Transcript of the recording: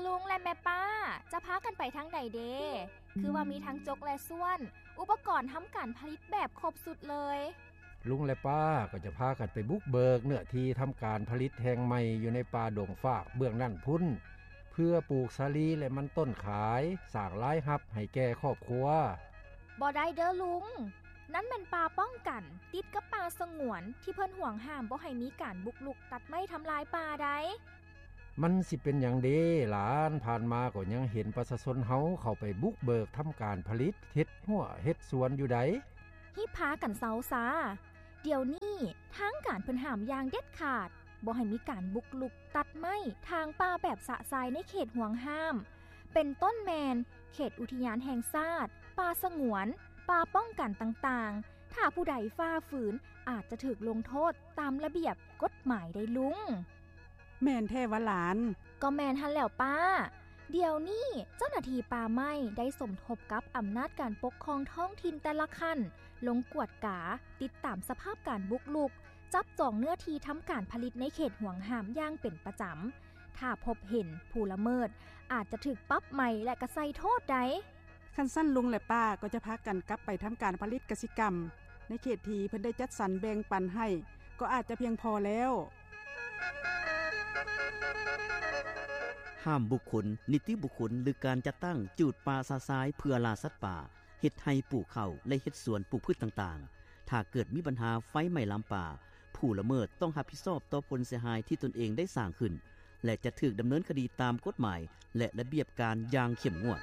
ລຸງ ແລະ ແມ່ປ້າ ຈະພາກັນໄປທາງໃດເດ? ຄືວ່າມີທັງຈົກ ແລະ ສ່ວນ, ອຸປະກອນທຳການຜະລິດແບບຄົບຊຸດເລີຍ. ລຸງ ແລະ ປ້າ ກໍຈະພາກັນໄປບຸກເບີກເນື້ອທີ່ທຳການຜະລິດແຫ່ງໃໝ່ຢູ່ໃນປ່າດົງຟາກເບື້ອງນັ້ນພຸ້ນ ເພື່ອປູກສາລີ ແລະ ມັນຕົ້ນຂາຍ, ສ້າງລາຍຮັບໃຫ້ແກ່ຄອບຄົວ. ບໍ່ໄດ້ເດີລຸງ, ນັ້ນແມ່ນປ່າປ້ອງກັນ ຕິດກັບປ່າສະຫງວນ ທີ່ເພິ່ນຫວງຫ້າມບໍ່ໃຫ້ມີການບຸກລຸກຕັດໄມ້ທຳລາຍປ່າໃດ. ມັນຊິເປັນຫຍັງເດຫຼານ, ຜ່ານມາກໍຍັງເຫັນປະຊາຊົນເຮົາເຂົ້າໄປບຸກເບີກທຳການຜະລິດ, ເຮັດຮົ້ວເຮັດສວນຢູ່ໃດ. ຮີບພາກັນເຊົາຊາ, ດຽວນີ້ທາງການເພິ່ນຫ້າມຢ່າງເດັດຂາດ ບໍ່ໃຫ້ມີການບຸກລຸກຕັດໄມ້, ຖາງປ່າແບບຊະຊາຍໃນເຂດຫວງຫ້າມ, ເປັນຕົ້ນແມ່ນເຂດອຸທິຍານແຫ່ງຊາດ, ປ່າສະຫງວນ, ປ່າປ້ອງກັນຕ່າງໆ. ຖ້າຜູ້ໃດຝ່າຝືນ ອາດຈະຖືກລົງໂທດຕາມລະບຽບກົດໝາຍໄດ໋ລຸງ. ແມ່ນແທ້ຫວາຫຼານ? ກໍແມ່ນຫັ້ນແຫຼ້ວປ້າ. ດຽວນີ້ເຈົ້າໜ້າທີ່ປ່າໄມ້ໄດ້ສົມທົບກັບອຳນາດການປົກຄອງທ້ອງຖິ່ນແຕ່ລະຂັ້ນ ລົງກວດກາ, ຕິດຕາມສະພາບການບຸກລຸກ, ຈັບຈອງເນື້ອທີ່ທຳການຜະລິດໃນເຂດຫວງຫ້າມຢ່າງເປັນປະຈຳ. ຖ້າພົບເຫັນຜູ້ລະເມີດ ອາດຈະຖືກປັບໃໝ ແລະ ກະໃສ່ໂທດໄດ໋. ຄັນຊັ້ນລຸງ ແລະ ປ້າ ກໍຈະພາກັນກັບໄປທຳການຜະລິດກະສິກຳ ໃນເຂດທີ່ເພິ່ນໄດ້ຈັດສັນແບ່ງປັນໃຫ້ ກໍອາດຈະພຽງພໍແລ້ວ. ຫ້າມບຸກຄົນ, ນິຕິບຸກຄົນ ຫຼື ການຈັດຕັ້ງຈູດປ່າຊະຊາຍເພື່ອລ່າສັດປ່າ, ເຮັດໄຮ່ປູກເຂົ້າ ແລະ ເຮັດສວນປູກພືດຕ່າງໆ. ຖ້າເກີດມີບັນຫາໄຟໄໝ້ລາມປ່າ, ຜູ້ລະເມີດຕ້ອງຮັບຜິດຊອບຕໍ່ຜົນເສຍຫາຍທີ່ຕົນເອງໄດ້ສ້າງຂຶ້ນ ແລະ ຈະຖືກດຳເນີນຄະດີຕາມກົດໝາຍ ແລະ ລະບຽບການຢ່າງເຂັ້ມງວດ.